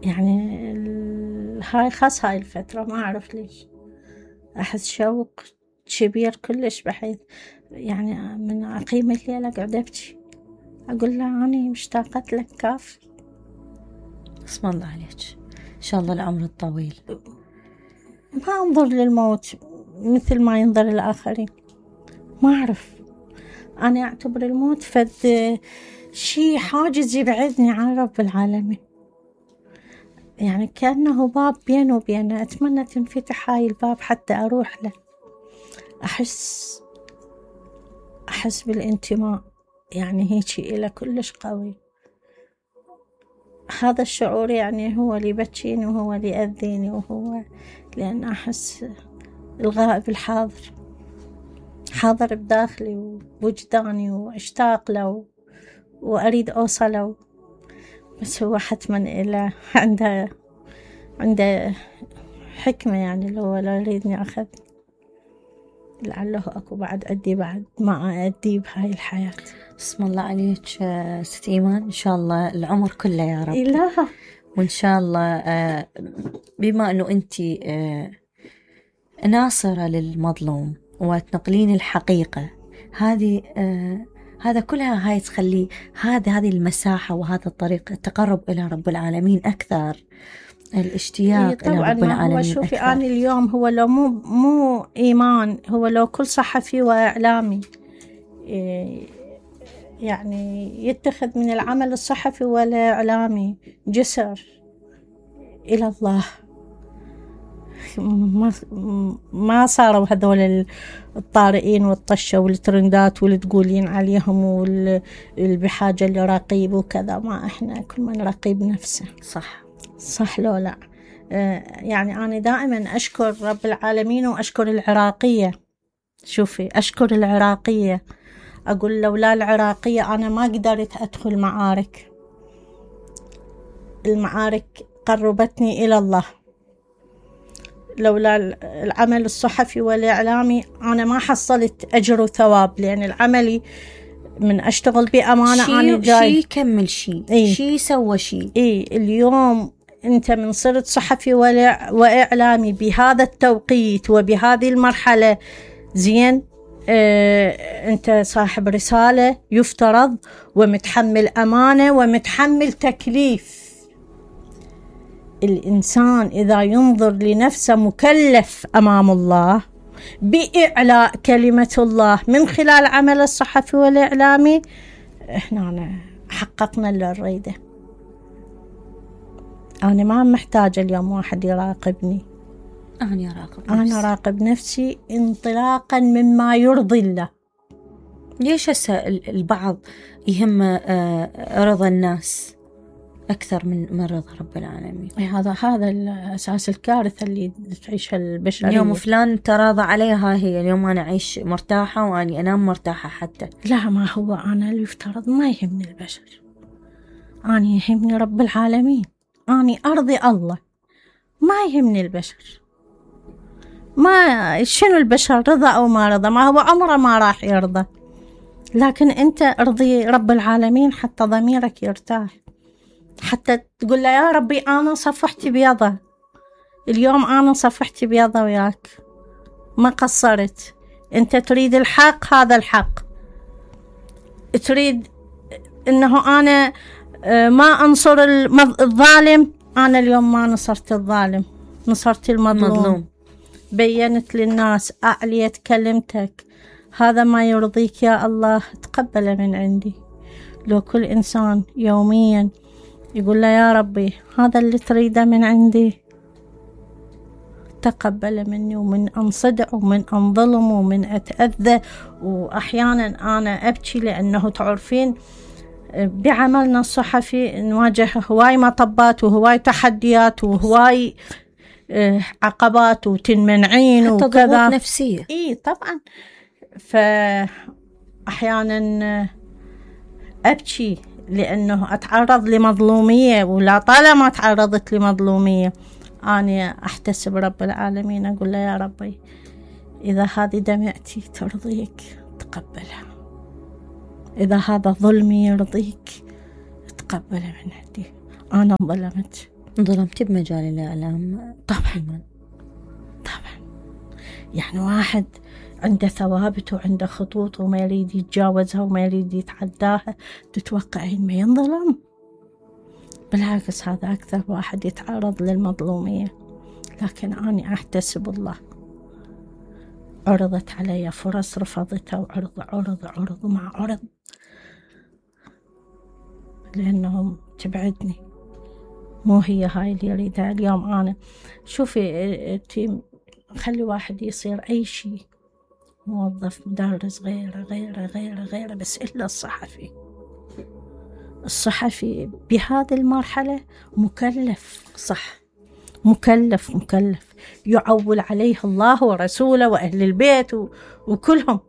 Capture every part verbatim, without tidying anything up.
يعني هاي خاص هاي الفترة ما أعرف ليش أحس شوق كبير كلش، بحيث يعني من أقيم الليل أقعد أبكي أقول له أنا مشتاقة لك كاف. اسم الله عليك، إن شاء الله العمر الطويل. ما أنظر للموت مثل ما ينظر الآخرين، ما أعرف، أنا أعتبر الموت فد شي حاجز يبعدني عن رب العالمين، يعني كأنه باب بينه وبينه، أتمنى تنفتح هاي الباب حتى أروح له. أحس أحس بالانتماء، يعني هيك إلى كلش قوي. هذا الشعور يعني هو اللي يبكيني وهو اللي يأذيني، وهو لأن أحس الغائب الحاضر حاضر بداخلي ووجداني واشتاق له وأريد أوصله، بس هو حتما إلى عنده عنده حكمة، يعني لو لا يريدني أخذ لعله أكو بعد أدي بعد ما أدي بهاي الحياة. اسم الله عليك ست إيمان، إن شاء الله العمر كله يا رب. إله. وإن شاء الله بما أنه أنت ناصرة للمظلوم وتنقلين الحقيقة هذه، هذا كلها هاي تخلي هذا هذه المساحة وهذا الطريق التقرب إلى رب العالمين أكثر، الاشتياق إلى رب العالمين. هو شوفي أنا اليوم هو لو مو مو إيمان، هو لو كل صحفي وإعلامي يعني يتخذ من العمل الصحفي والإعلامي جسر إلى الله، ما ما صاروا هذول الطارئين والطشة والترندات واللي تقولين عليهم واللي بحاجة لرقيب وكذا. ما إحنا كل من رقيب نفسه. صح صح لو لا. يعني أنا دائما أشكر رب العالمين وأشكر العراقية. شوفي أشكر العراقية، أقول لولا العراقية أنا ما قدرت أدخل معارك. المعارك قربتني إلى الله. لولا العمل الصحفي والإعلامي أنا ما حصلت أجر وثواب، لأن العملي من أشتغل بأمانة. شي أنا جاي شي كمل شي إيه؟ شي سوى شي. إيه اليوم أنت من صرت صحفي وإعلامي بهذا التوقيت وبهذه المرحلة زين، اه أنت صاحب رسالة يفترض ومتحمل أمانة ومتحمل تكليف. الإنسان إذا ينظر لنفسه مكلف أمام الله بإعلاء كلمة الله من خلال عمل الصحفي والإعلامي، إحنا حققنا اللي نريده. أنا ما محتاجة اليوم واحد يراقبني، أنا أراقب نفسي. أنا أراقب نفسي انطلاقا مما يرضي الله. ليش هسه البعض يهم رضا الناس أكثر من من رضا رب العالمين؟ هذا هذا الأساس الكارثة اللي تعيشها البشرية. اليوم فلان تراضى عليها، هي اليوم أنا أعيش مرتاحة وأني أنام مرتاحة. حتى لا، ما هو أنا اللي يفترض ما يهمني البشر، أنا يهمني رب العالمين، أنا أرضي الله، ما يهمني البشر. ما شنو البشر رضا أو ما رضا، ما هو عمره ما راح يرضى، لكن أنت ارضي رب العالمين حتى ضميرك يرتاح، حتى تقول له يا ربي أنا صفحت بيضة اليوم، أنا صفحت بيضة وياك ما قصرت. أنت تريد الحق، هذا الحق. تريد إنه أنا ما أنصر الظالم، أنا اليوم ما نصرت الظالم، نصرت المظلوم. مظلوم. بينت للناس، أعليت كلمتك، هذا ما يرضيك يا الله تقبله من عندي. لو كل إنسان يوميا يقول له يا ربي هذا اللي تريده من عندي تقبل مني، ومن أنصدع ومن أنظلم ومن أتأذى، وأحيانا أنا أبكي لأنه تعرفين بعملنا الصحفي نواجه هواي مطبات وهواي تحديات وهواي عقبات وتنمنعين وكذا، ضغوط نفسية. إيه طبعا. فأحيانا أبكي لأنه أتعرض لمظلومية، ولا طالما تعرضت لمظلومية أنا أحتسب رب العالمين، أقول له يا ربي إذا هذه دمعتي ترضيك تقبلها، إذا هذا ظلمي يرضيك تقبله من عندي. أنا ظلمت، ظلمتي بمجال الإعلام طبعا طبعا. يعني واحد عنده ثوابت وعنده خطوط وما يريد يتجاوزها وما يريد يتعداها، تتوقعين ما ينظلم؟ بالعكس هذا أكثر واحد يتعرض للمظلومية. لكن أنا أحتسب الله، عرضت علي فرص رفضتها، وعرض عرض عرض مع عرض، لأنهم تبعدني، مو هي هاي اللي يريدها. اليوم أنا شوفي تيم، خلي واحد يصير أي شيء، موظف، مدرس، غيره غيره غيره غيره، بس إلا الصحفي. الصحفي بهذه المرحلة مكلف، صح، مكلف مكلف يعول عليه الله ورسوله وأهل البيت وكلهم،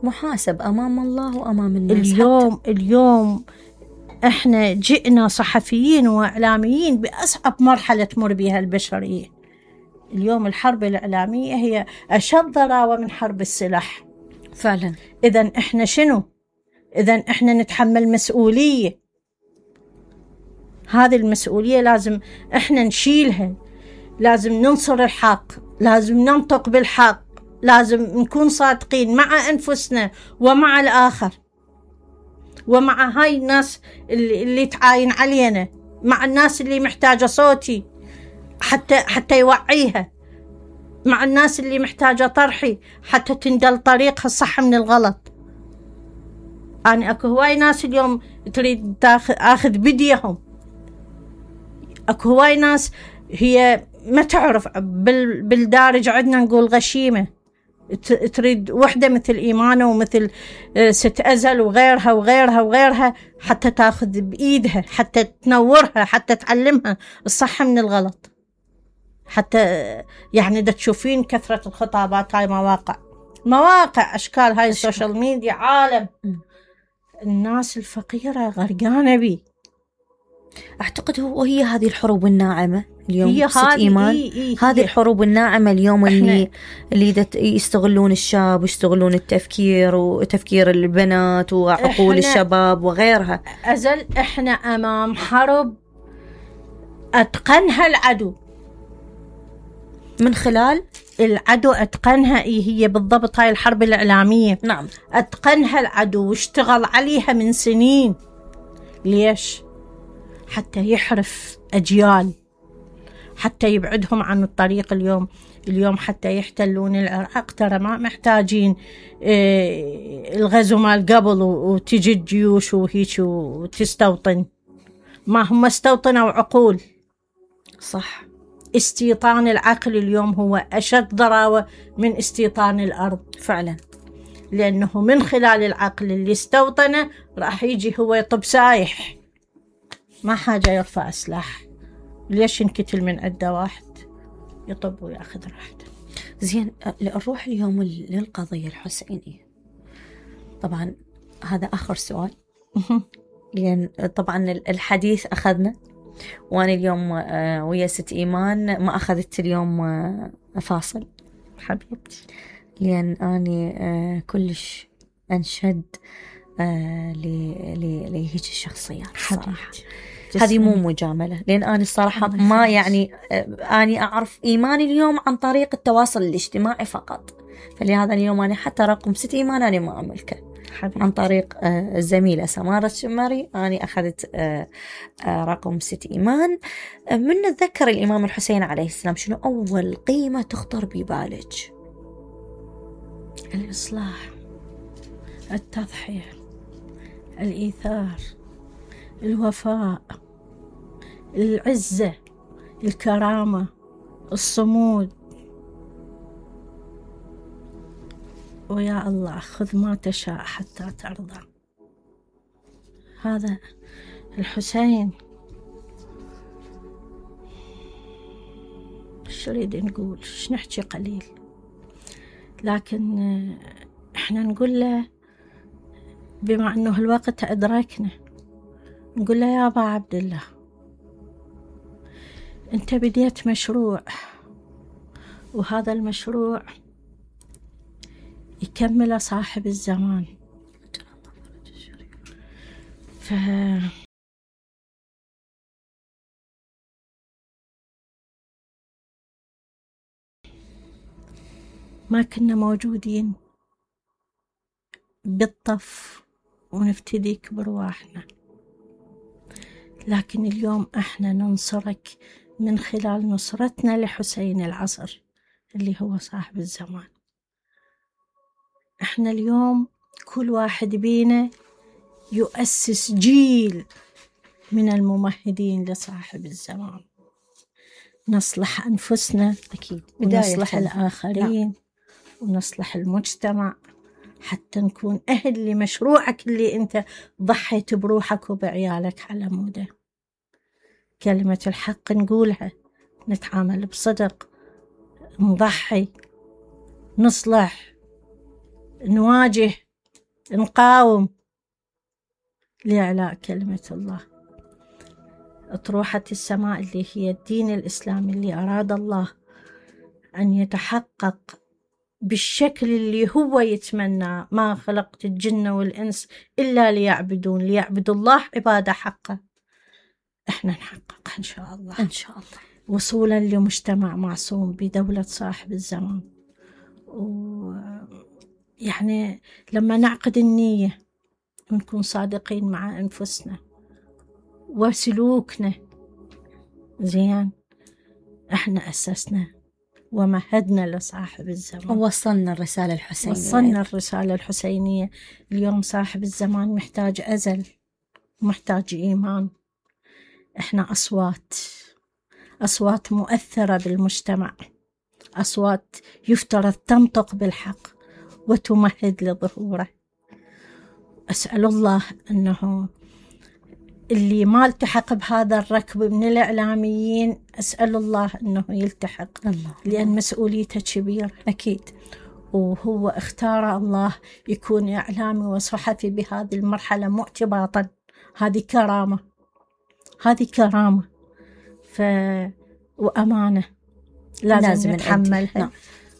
محاسب أمام الله وأمام الناس. اليوم حتى. اليوم احنا جئنا صحفيين وإعلاميين بأصعب مرحلة تمر بها البشرية. اليوم الحرب الإعلامية هي أشد ضراوة من حرب السلاح فعلا. إذن احنا شنو؟ إذن احنا نتحمل مسؤولية، هذه المسؤولية لازم احنا نشيلها، لازم ننصر الحق، لازم ننطق بالحق، لازم نكون صادقين مع أنفسنا ومع الآخر ومع هاي الناس اللي, اللي تعاين علينا، مع الناس اللي محتاجة صوتي حتى حتى يوعيها، مع الناس اللي محتاجة طرحي حتى تندل طريقها الصح من الغلط. أنا أكو هواي ناس اليوم تريد تاخذ أخذ بديهم، أكو هواي ناس هي ما تعرف، بالدارج عندنا نقول غشيمة، تريد وحدة مثل إيمانة ومثل ست أزل وغيرها وغيرها وغيرها حتى تاخذ بإيدها، حتى تنورها، حتى تعلمها الصح من الغلط، حتى يعني دا تشوفين كثرة الخطابات. هاي مواقع مواقع أشكال، هاي السوشيال ميديا عالم. الناس الفقيرة غرقانة بي. أعتقد هو هي هذه الحروب الناعمة اليوم، هي ست إيمان. إيه إيه هذه الحروب الناعمة اليوم اللي اللي يستغلون الشاب ويستغلون التفكير وتفكير البنات وعقول الشباب وغيرها. أزل إحنا أمام حرب أتقنها العدو، من خلال العدو أتقنها. إيه هي بالضبط هاي الحرب الإعلامية. نعم، أتقنها العدو واشتغل عليها من سنين. ليش؟ حتى يحرف أجيال، حتى يبعدهم عن الطريق. اليوم اليوم حتى يحتلون العراق ترى ما محتاجين إيه الغزو مال قبل وتجي الجيوش وهيك وتستوطن، ما هم استوطنوا عقول. صح، استيطان العقل اليوم هو أشد ضراوة من استيطان الأرض فعلا، لأنه من خلال العقل اللي استوطنه راح يجي هو يطب سايح، ما حاجة يرفع سلاح. ليش ينكتل من عدة واحد يطب ويأخذ راحته؟ زين، نروح اليوم للقضية الحسينية. طبعا هذا آخر سؤال، لأن طبعا الحديث أخذنا، وأنا اليوم ويا ست إيمان ما أخذت اليوم فاصل حبيبتي، لأن أنا كلش أنشد لهيك الشخصيات الصراحة. هذه مو مجاملة، لأن أنا الصراحة ما يعني أنا أعرف إيمان اليوم عن طريق التواصل الاجتماعي فقط، فلهذا اليوم أنا حتى رقم ست إيمان أنا ما أملكه عن طريق الزميلة سمارة الشماري. أنا أخذت رقم ست إيمان. من نتذكر الإمام الحسين عليه السلام، شنو أول قيمة تخطر ببالك؟ الإصلاح، التضحية، الإيثار، الوفاء، العزة، الكرامة، الصمود. ويا الله خذ ما تشاء حتى ترضى. هذا الحسين. ايش نريد نقول؟ ايش نحكي قليل، لكن احنا نقول له بما انه الوقت ادركنا، نقول له يا ابا عبد الله، انت بديت مشروع، وهذا المشروع يكمل صاحب الزمان. ف ما كنا موجودين بالطف ونفتديك برواحنا، لكن اليوم احنا ننصرك من خلال نصرتنا لحسين العصر اللي هو صاحب الزمان. احنا اليوم كل واحد بينا يؤسس جيل من الممهدين لصاحب الزمان، نصلح أنفسنا أكيد، ونصلح الآخرين. لا. ونصلح المجتمع حتى نكون أهل لمشروعك اللي أنت ضحيت بروحك وبعيالك على موده. كلمة الحق نقولها، نتعامل بصدق، نضحي، نصلح، نواجه، نقاوم لإعلاء كلمة الله. أطروحة السماء اللي هي الدين الإسلامي اللي أراد الله أن يتحقق بالشكل اللي هو يتمنى. ما خلقت الجن والإنس إلا ليعبدون، ليعبدوا الله عبادة حقه. إحنا نحققها إن شاء الله إن شاء الله، وصولا لمجتمع معصوم بدولة صاحب الزمان. ويعني لما نعقد النية ونكون صادقين مع أنفسنا وسلوكنا زين، إحنا أسسنا ومهدنا لصاحب الزمان، ووصلنا الرسالة الحسينية. وصلنا الرسالة الحسينية. اليوم صاحب الزمان محتاج أزل، محتاج إيمان. إحنا أصوات، أصوات مؤثرة بالمجتمع، أصوات يفترض تنطق بالحق وتمهد لظهوره. أسأل الله أنه اللي ما التحق بهذا الركب من الإعلاميين، أسأل الله أنه يلتحق الله. لأن مسؤوليته كبيرة أكيد، وهو اختار الله يكون إعلامي وصحفي بهذه المرحلة مو اعتباطا، هذه كرامة، هذه كرامة ف... وأمانة لازم, لازم نتحملها. نعم.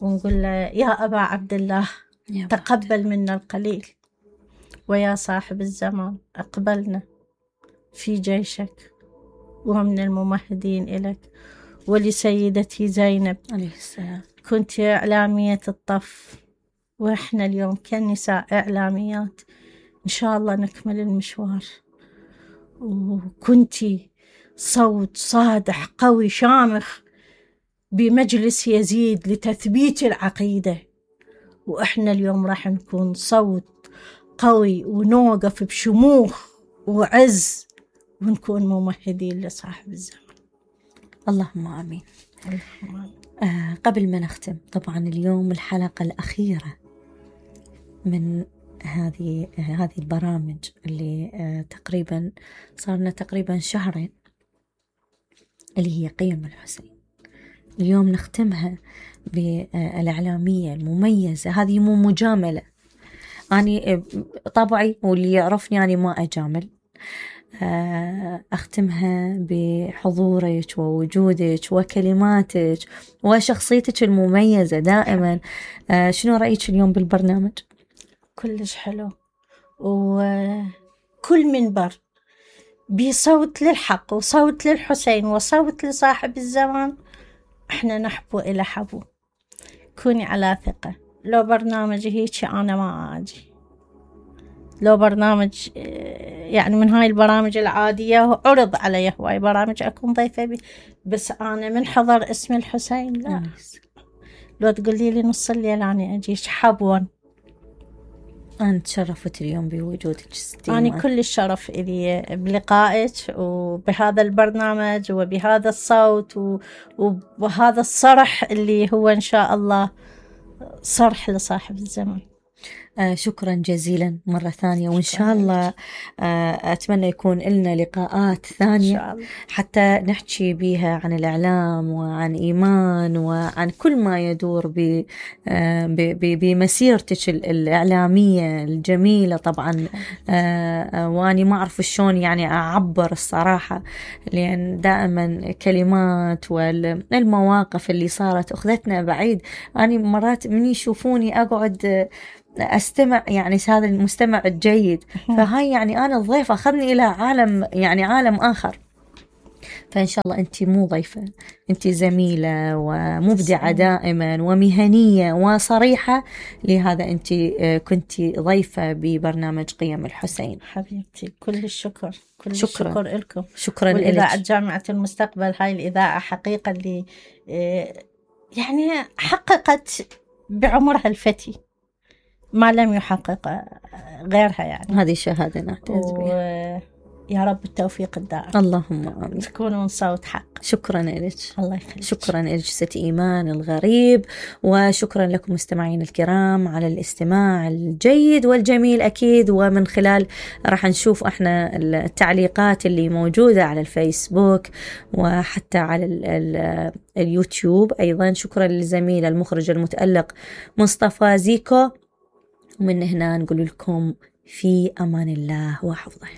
ونقول له يا أبا عبد الله تقبل منا القليل، ويا صاحب الزمان أقبلنا في جيشك ومن الممهدين إليك. ولسيدتي زينب عليه السلام، كنت إعلامية الطف، وإحنا اليوم كنساء إعلاميات إن شاء الله نكمل المشوار. وكنتي صوت صادح قوي شامخ بمجلس يزيد لتثبيت العقيدة، وإحنا اليوم راح نكون صوت قوي ونوقف بشموخ وعز ونكون ممهدين لصاحب الزمان. اللهم آمين. آه قبل ما نختم، طبعا اليوم الحلقة الأخيرة من هذه آه هذه البرامج اللي آه تقريبا صارنا تقريبا شهرين، اللي هي قيم الحسين. اليوم نختمها بالإعلامية المميزة. هذه مو مجاملة، أنا طبعي واللي يعرفني يعني ما أجامل. أختمها بحضورك ووجودك وكلماتك وشخصيتك المميزة دائما. شنو رأيك اليوم بالبرنامج؟ كلش حلو، وكل منبر بصوت للحق وصوت للحسين وصوت لصاحب الزمان احنا نحبو إلى حبو. كوني على ثقة، لو برنامج هيك أنا ما أجي، لو برنامج يعني من هاي البرامج العادية عرض علي هواي برامج أكون ضيفة بي، بس أنا من حضر اسم الحسين لا. لو تقولي لي نص الليل أنا أجيش حبوا. أنا تشرفت اليوم بوجودك ستيما. أنا كل الشرف إلي بلقائك وبهذا البرنامج وبهذا الصوت وبهذا الصرح اللي هو إن شاء الله صرح لصاحب الزمان. آه شكرا جزيلا مرة ثانية، وإن شاء الله آه أتمنى يكون لنا لقاءات ثانية حتى نحكي بها عن الإعلام وعن إيمان وعن كل ما يدور آه بمسيرتك الإعلامية الجميلة. طبعا آه وأني ما أعرف شلون يعني أعبر الصراحة، لأن دائما كلمات والمواقف اللي صارت أخذتنا بعيد. أنا مرات من يشوفوني أقعد أستمع، يعني هذا المستمع الجيد، فهاي يعني أنا الضيف أخذني إلى عالم، يعني عالم آخر. فإن شاء الله أنت مو ضيفة، أنت زميلة ومبدعة دائما ومهنية وصريحة، لهذا أنت كنت ضيفة ببرنامج قيم الحسين. حبيبتي كل الشكر، كل شكرا. الشكر لكم. شكرا لك. والإذاعة جامعة المستقبل هاي الإذاعة حقيقة اللي يعني حققت بعمرها الفتي ما لم يحقق غيرها، يعني هذه شهادة نعتز بها. يا رب التوفيق الدائم. اللهم آمين. تكونون صوت حق. شكرا لك. الله يخليك. شكرا لك ست إيمان الغريب، وشكرا لكم مستمعين الكرام على الاستماع الجيد والجميل أكيد. ومن خلال راح نشوف احنا التعليقات اللي موجودة على الفيسبوك وحتى على ال ال اليوتيوب أيضا. شكرا للزميل المخرج المتألق مصطفى زيكو. ومن هنا نقول لكم في أمان الله وحفظه.